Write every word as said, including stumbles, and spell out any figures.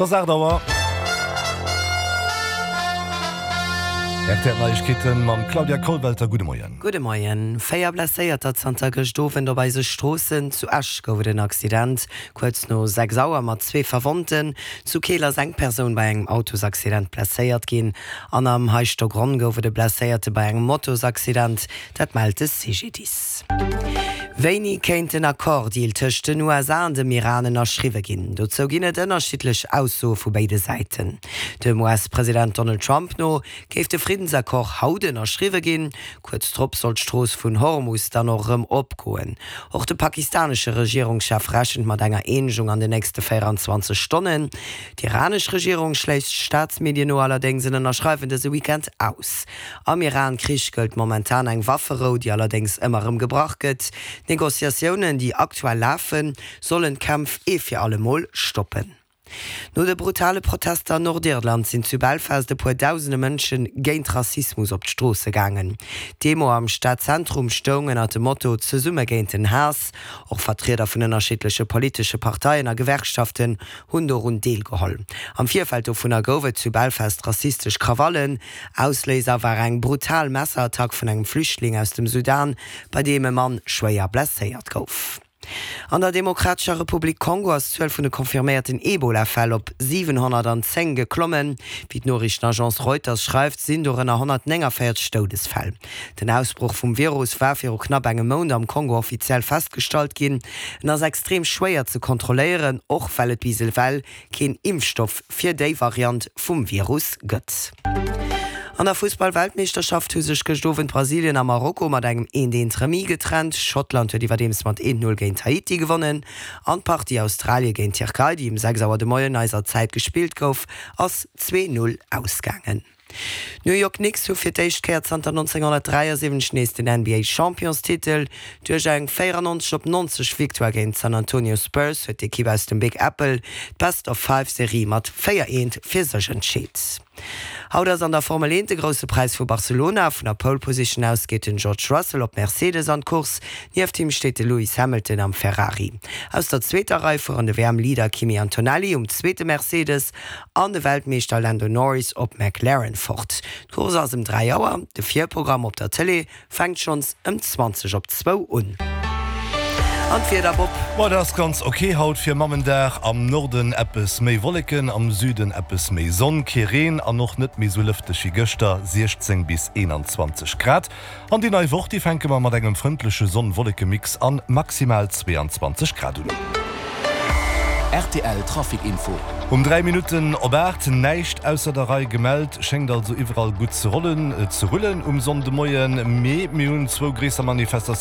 Et ass aacht Auer. Rtl Neiegkeeten mam Claudia Kollwelter. Gudde Moien. Gudde Moien. Véier Blesséierter zanter gëscht Owend op eise Stroossen. Zu Esch gouf et en Accident kuerz no sechs Auer mat zwee Verwonnten. Zu Keel ass eng Persoun bei engem Autosaccident blesséiert ginn an am Heischtergronn gouf et e Blesséierte bei engem Motosaccident. Dat mellt de C G D I S. Wéini kéint den Accord-Deal tëscht den U S A an dem Iran ënnerschriwwe ginn? Dozou ginn et ënnerschiddlech Aussoe vu béide Säiten. Dem U S-President Donald Trump no géif de Friddensaccord haut ënnerschriwwe ginn. Kuerz drop soll d'Strooss vun Hormus dann och erëm opgoen. Och de pakistanesche Regierungschef rechent mat enger Eenegung an den nächste véierenzwanzeg Stonnen. D'iranesch Regierung schléisst Staatsmedien no allerdéngs en Ënnerschreiwen dëse Weekend aus. Am Iran-Krich gëllt momentan eng Wafferou, déi allerdéngs ëmmer erëm gebrach gëtt. D'Negociatiounen, déi aktuell lafen, sollen d'Kämpf ee fir alle Mol stoppen. No de brutale Protester an Nordirland sinn zu Belfast e puer dausende Mënsche géint Rassismus op d'Stroosse gaangen. D'Demo am Stadzentrum stoung ënner dem Motto Zesumme géint den Haass. Och Vertrieder vun ënnerschiddleche politesche Parteien a Gewerkschaften hunn dorun deelgeholl. Am Virfeld dovunner gouf et zu Belfast rassistesch Krawallen. Ausléiser war eng brutal Messerattack vun engem Flüchtling aus dem Sudan, bei deem e Mann schwéier blesséiert gouf. An der Demokratescher Republik Kongo ass d'Zuel vun de confirméierten Ebola-Fäll op siwenhonnertanzéng geklommen. Wéi d'Noriichtenagence Reuters schreift, sinn dorënner honnertnénganvéierzeg Doudesfäll. Den Ausbroch vum Virus war viru knapp engem Mount am Kongo offiziell festgestallt ginn. En ass extrem schwéier ze kontrolléieren, och well et bis ewell keen Impfstoff fir déi Variant vum Virus gëtt. An der Fussball-Weltmeeschterschaft hu sech gëscht Owend Brasilien a Marokko mat engem eent eent Remis getrennt. Schottland huet iwwerdeems mat eent null géint Haiti gewonnen. An d'Partie Australie géint Tierkei, déi um sechs Auer de Moien eiser Zäit gespillt gouf, ass zwee null ausgaangen. D'New York Knicks hu fir d'éischt Kéier zanter nonzénghonnertdräiasiwwenzeg nees den N B A-Championstitel. Duerch eng véierannonzeg op nonzeg Victoire géint d'San Antonio Spurs huet d'Ekipp aus dem Big Apple d'Best-of-Five-Serie mat véier eent fir sech entscheet. Haut ass an der Formel eent de Grousse Präis vu Barcelona. Vun der Pole Position aus geet den George Russell op Mercedes an d'Course. Nieft him steet de Lewis Hamilton am Ferrari. Aus der zweeter Rei fueren de W M-Leader Kimi Antonelli um zweete Mercedes an de Weltmeeschter Lando Norris op McLaren fort. D'Course ass ëm dräi Auer, de Virprogramm op der Tëlee fänkt schonns ëm zwanzeg op zwou un. An d'Wieder, Bob? Boah, dat ass ganz ok haut fir Mammendag. Am Norden eppes méi Wolleken, am Süden eppes méi Sonn, kee Reen an och net méi sou lëfteg wéi gëschter, siechzéng bis eenanzwanzeg Grad. An déi nei Woch, déi fänke mer mat engem frëndleche Sonn-Wolleke-Mix an maximal zweeanzwanzeg Grad un. R T L Trafic Info. Um dräi Minutten op aacht, näischt ausser der Rei gemellt, schéngt also iwwerall gutt ze rollen, ze rullen um Sonndemoien, mee mir hunn zwou gréisser Manifestatiounen.